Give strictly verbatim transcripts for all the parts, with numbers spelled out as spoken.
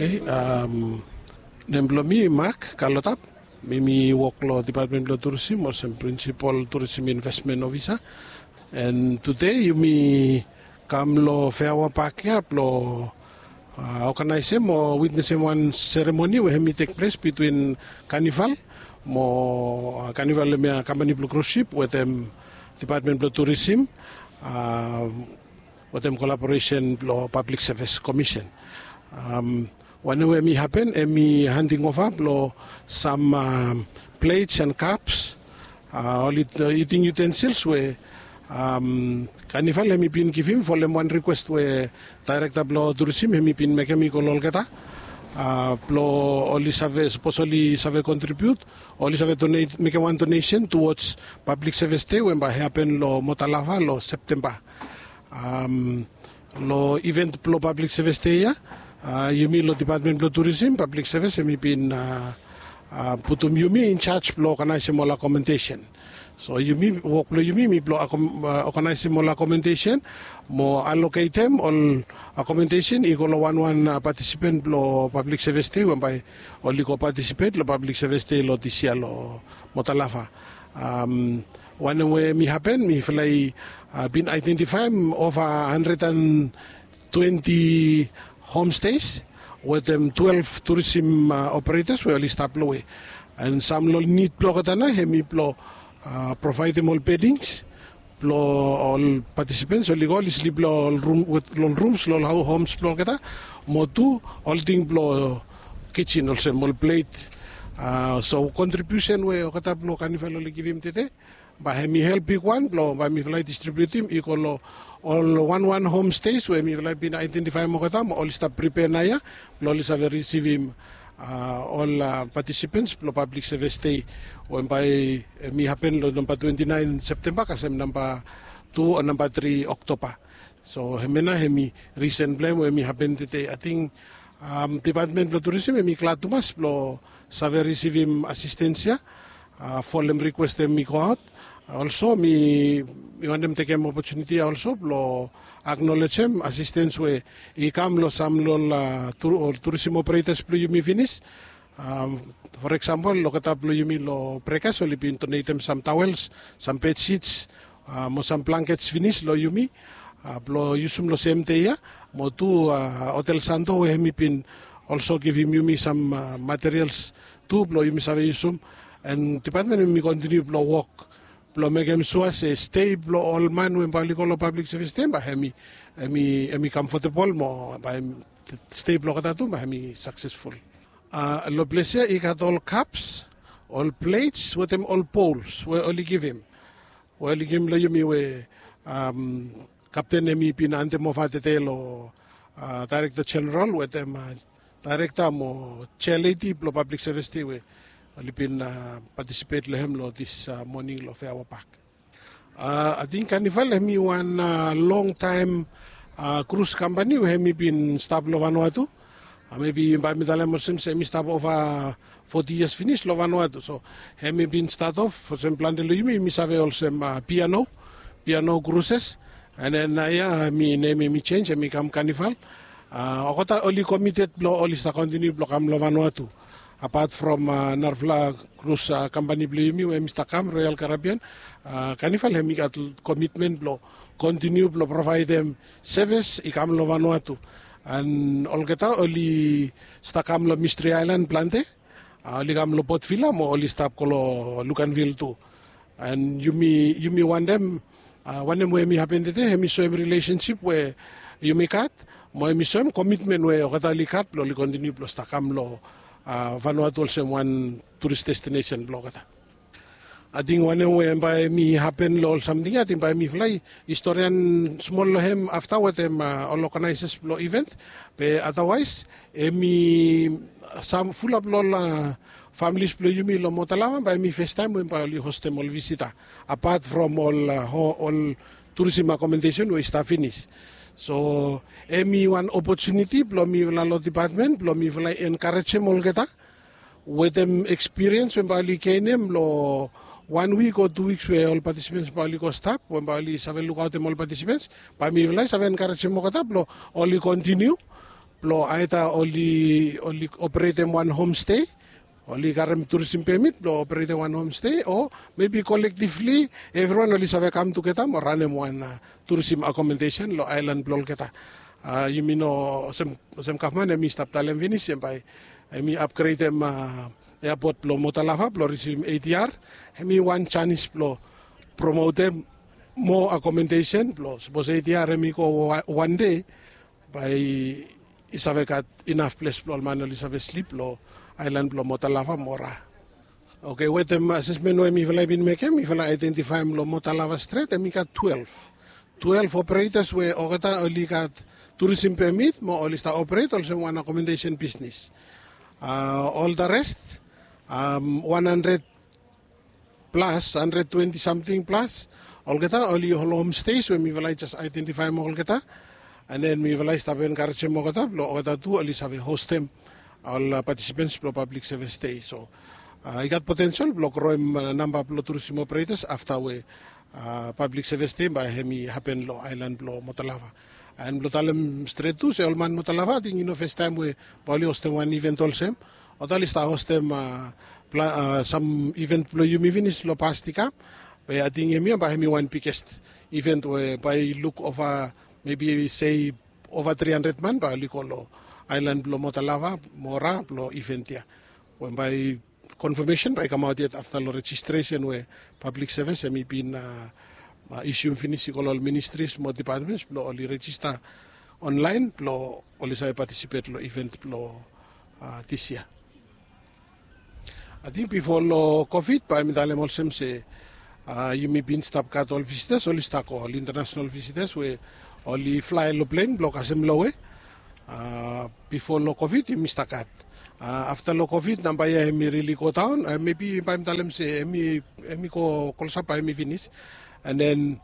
Nem blong mi Mak Kalotap. Mi mi wok long Dipatmen blong Turisim olsem Prinsipol Turisim Investmen Ofisa. And tude yumi kam long Feawa Pak ya blong oganaesem o witnesem wan seremoni we hem i tek ples bitwin Kanival mo Kanival hem ya kampani blong krus sip wetem Dipatmen blong Turisim wetem kolaboresen blong Pablik Sevis Komisen. Wanem we hem i hapen hem i handing ova blong sam plets and kaps, ol iting yutensils we Kanival hem i bin givim folem wan rikwes we daerekta blong turisim hem i bin mekem i go long olgeta blong oli save sapos oli save kontribiut, oli save mekem wan donesen tuwods Pablik Sevis Dei we bae i hapen long Motalava long Septemba. Long iven blong Pablik Sevis Dei ya, yumi long Dipatmen blong Turisim Pablik Sevis hem i bin putum yumi injaj blong oganaesem ol akomodesen. So yumi wok blong yumi mi blong oganaesem ol akomodesen mo aloketem ol akomodesen i go long wanwan patisipen blong Pablik Sevis Dei we bae oli go patisipet long Pablik Sevis Dei long dis yia long Motalava. Wanem we hem i hapen mifala i bin aedentifaem ova handred and twenti homstes wetem twelef turisim operetas we oli stap long we. And sam long nid blong olgeta nao hem i blong provaedem ol bedings blong ol patisipens oli go oli slip long ol rums long ol homs blong olgeta mo tu ol ting blong kijin olsem ol plet. So kontribiusen we olgeta blong Kanival oli givim tede bae hem i help bigwan blong bae mifala i distribiutim i go long ol wanwan homstes we mifala i bin aedentifaem olgeta mo oli stap pripea naoia blong oli save risivim ol patisipens blong Pablik Sevis Dei we bae hem i hapen long namba twenti naen Septemba kasem namba tu o namba tri Oktoba. So hemia nao hem i risen blong hem we hem i hapen tede. Ating Dipatmen blong Turisim hem i glad tumas blong save risivim asistens ya folem rikwes hem i goaot. Olso mi wantem tekem opotuniti ya olso blong aknolejem asistens we i kam long sam long ol turisim operetas blong yumi finis. For eksampol olgeta blong yumi long Brekas oli bin donetem sam tawels, sam bedsits mo sam blankets finis long yumi blong yusum long sem dei ya. Mo tu Hotel Santo we hem i bin olso givim yumi sam materials tu blong yumi save yusum. And dipatmen hem i kontiniu blong wok blong mekem sua se stei blong ol man we bae oli go long Pablik Sevis Dei bae hem i hem i hem i kamfotebol mo bae stei blong olgeta tu bae hem i saksesful. Long ples ya i gat ol kaps, ol plets wetem ol bols we oli givim we oli givim long yumi we kapten hem i bin handem ova tede long daerekta jeneral wetem daerekta mo jealedi blong Pablik Sevis Dei we oli bin patisipet long hem long dis moning long Feawa Pak. Ating Kanival hem i wan longtaem krus kampani we hem i bin stap long Vanuatu. Mebi bae mi talem olsem se hem i stap ova foti yias finis long Vanuatu. So hem i bin stat of olsem plante long yumi yumi save olsem Piano, Piano Kruses. And then naoia hem i nem hem i jenj hem i kam Kanival. Olgeta oli komited blong oli stap kontiniu blong kam long Vanuatu. Apat from narafala krus kampani blong yumi we hem i stap kam Royal Caribbean, Kanival hem i gat komitmen blong kontiniu blong provaedem sevis i kam long Vanuatu. And olgeta oli stap kam long Mistri Aelan plante, oli kam long Port Vila mo oli stap go long Luganville tu. And yumi yumi wantem wanem we hem i hapen tede hem i soem rilesensip we yumi gat mo hem i soem komitmen we olgeta oli gat blong oli kontiniu blong stap kam long Vanuatu olsem wan turis destinesen blong olgeta. Ating wanem we bae hem i hapen long ol samting ya ating bae mifala i storian smol long hem afta wetem ol oganaesas blong iven. Be adawaes hem i sam fulap long ol familis blong yumi long Motalava bae hem i festaem we bae oli hostem ol visita apat from ol turisim akomodesen we i stap finis. So hem i wan opotuniti blong mifala long dipatmen blong mifala i enkarejem olgeta wetem ekspiriens we bae oli genem long wan wik o tu wiks we ol patisipens bae oli go stap we bae oli save lukaotem ol patisipens. Bae mifala i save enkarejem olgeta blong oli kontiniu blong aeda oli oli operetem wan homstei, oli karem turisim pemit blong operetem wan homstei, o mebi kolektivli evriwan oli save kam tugeta mo ranem wan turisim akomodesen long aelan blong olgeta. Yumi no olsem gavman em i stap talem finis em bai em i apgredem eapot blong motalava blong risivim adr. Em i wan janis blong promotem moa akomodesen blong sapos adr em i go wan dei, bai i save gat inaf ples blong ol man oli save slip long aelan blong motalava mora. Oke, wetem asesmen we mifala i bin mekem, mifala aedentifaem long motalava stret em i gat twelef twelef operetas we olgeta oli gat turisim pemit mo oli stap operet olsem wan akomodesen bisnis. Ol da rest, wan handred plas, handred twenti samting plas, olgeta oli ol homsteis we mifala i jes aedentifaem olgeta. An den mifala i stap enkarejem olgeta blong olgeta tu oli save hostem ol patisipens blong pablik sevis dei. So i gat potensel blong groem namba blong turisim operetas afta we pablik sevis dei bai hem i hapen long aelan blong motalava. An blong talem stret tu se ol man motalava ating i no festaem we bai oli hostem wan iven olsem. Olgeta oli stap hostem sam iven blong yumi finis long past i kam. Be ating hemia bai hem i wan biges iven we bai i luk ova, mebi sei ova tri handred man bai oli go long aelan blong motalava mora blong iven ya. Bai konfamesen bai i kamaot yet afta long rejistresen we pablik sevis hem i bin isium finis i go long ol ministris mo dipatmens blong oli rejista onlaen blong oli save patisipet long iven blong dis yia. Ating bifo long kovid bai mi talem olsem se yumi bin stap gat ol visitas oli stap go ol intanasenal visitas we oli flae long plen blong kasem lowe. Bifo long kovid yumi stap gat. Afta long kovid namba ya hem i rili godaon, mebi bai mi talem se hem i go klosap bai hem i finis. An den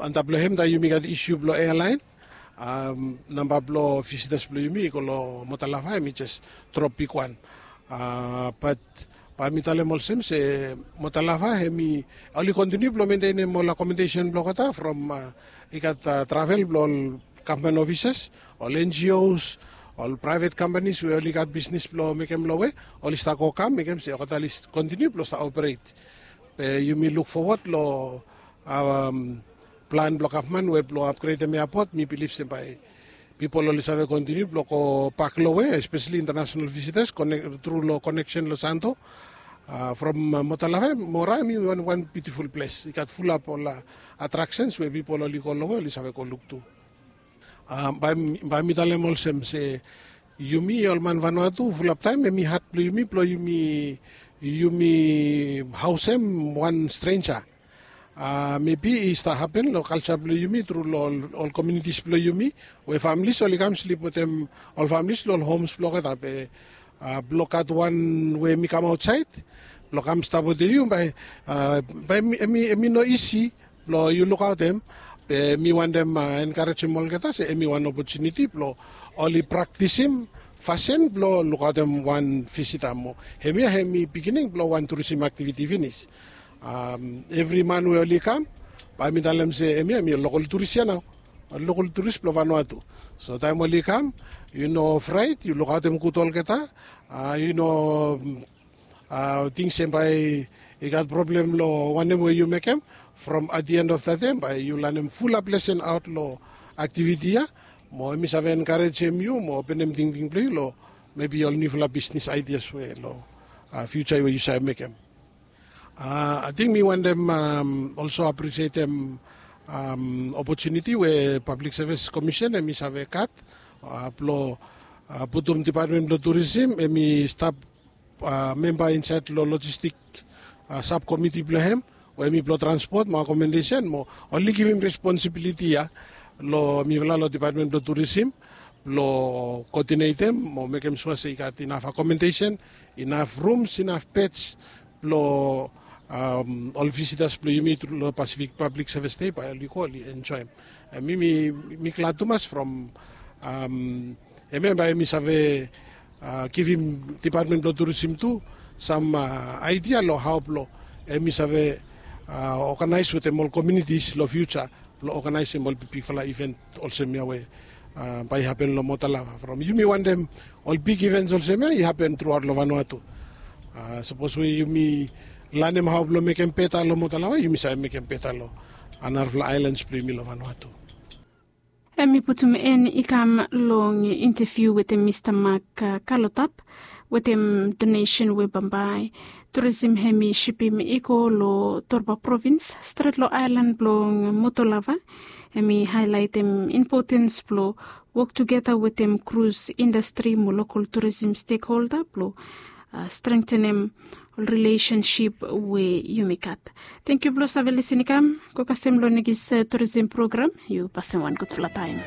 antap long hem taem yumi gat isu blong ealaen, namba blong visitas blong yumi i go long motalava hem i jes drop bigwan. Bat bai mi talem olsem se motalava hem i oli kontiniu blong mentenem ol akomodesen blong olgeta from i gat travel blong ol gavman ofisas, ol ngos, ol praevet kampanis we oli gat bisnis blong mekem lowe, oli stap go kam mekem se olgeta oli kontiniu blong stap operet. Be yumi luk fowat long plan blong gavman we blong apgredem eapot, mi bilif se bai pipol oli save kontiniu blong go bak lowe, espeseli intanasenal visitas tru long koneksen long santo. From motalava mora hem i wan biutiful ples i gat fulap ol atraksens we pipol oli go lowe oli save go luk tu. Bai mi talem olsem se yumi ol man vanua tu fulap taem hem i had blong yumi blong yumi haosem wan strenja. Mebi i stap hapen long kalja blong yumi tru long ol komiunitis blong yumi we familis oli kam slip wetem ol familis long ol homs blong olgeta. Be blong gat wan we hem i kam aotsaed blong kam stap wetem yu bai hem i no isi blong yu lukaotem. Be mi wantem enkarejem olgeta se hem i wan opotuniti blong oli praktisim fasin blong lukaotem wan visita mo hemia hem i pikinini blong wan turisim aktiviti finis. Evri man we oli kam bai mi talem se hemia hem i ol lokol turis ya nao, ol lokol turis blong vanua tu. So taem oli kam yu no fraet, yu lukaotem gud olgeta. Yu no ting se bai i gat problem long wanem we yu mekem. From at the end of the day bai yu lanem fulap lesen aot long aktiviti ya mo hem i save enkarejem yu mo openem tingting blong yu long mebi ol niufala bisnis aidias we long fiuja we yu save mekem. Ating mi wantem olso apresietem opotuniti we pablik sevis komisen hem i save gat blong putum dipatmen blong turisim hem i stap memba insaed long lojistik sabkomiti blong hem we hem i blong transpot mo akomodesen mo oli givim responsibiliti ya long mifala long dipatmen blong turisim blong koodinetem mo mekem sua se i gat inaf akomodesen, inaf rums, inaf beds blong ol visitas blong yumi tru long pasifik pablik sevis dei bai oli go oli enjoem. Mi glad tumas from hemia bai hem i save givim dipatmen blong turisim tu sam aidia long hao blong hem i save oganaes wetem ol komiunitis long fiuja blong oganaesem ol bigbigfala iven olsem ya we Bae i hapen long Motolava from yumi wantem ol big ivens olsem ya i hapen truaot long Vanuatu. Sapos we yumi lanem hao blong mekem beta long Motolava, yumi save mekem beta long narafala aelans blong yumi long Vanuatu. Hem i putum en i kam long inteviu wetem Mista Mak Kalotap wetem donesen we bambae turisim hem i sipim i go long Torba provins stret long aelan blong Motolava. Hem i haelaetem impotens blong wok tugeta wetem krus indastri mo lokol turisim stekholda blong strengtenem ol rilesensip we yumi gat. Tenkyu blong save lisin i kam go kasem long nekis turisim program. Yu pasim wan gudfala taem.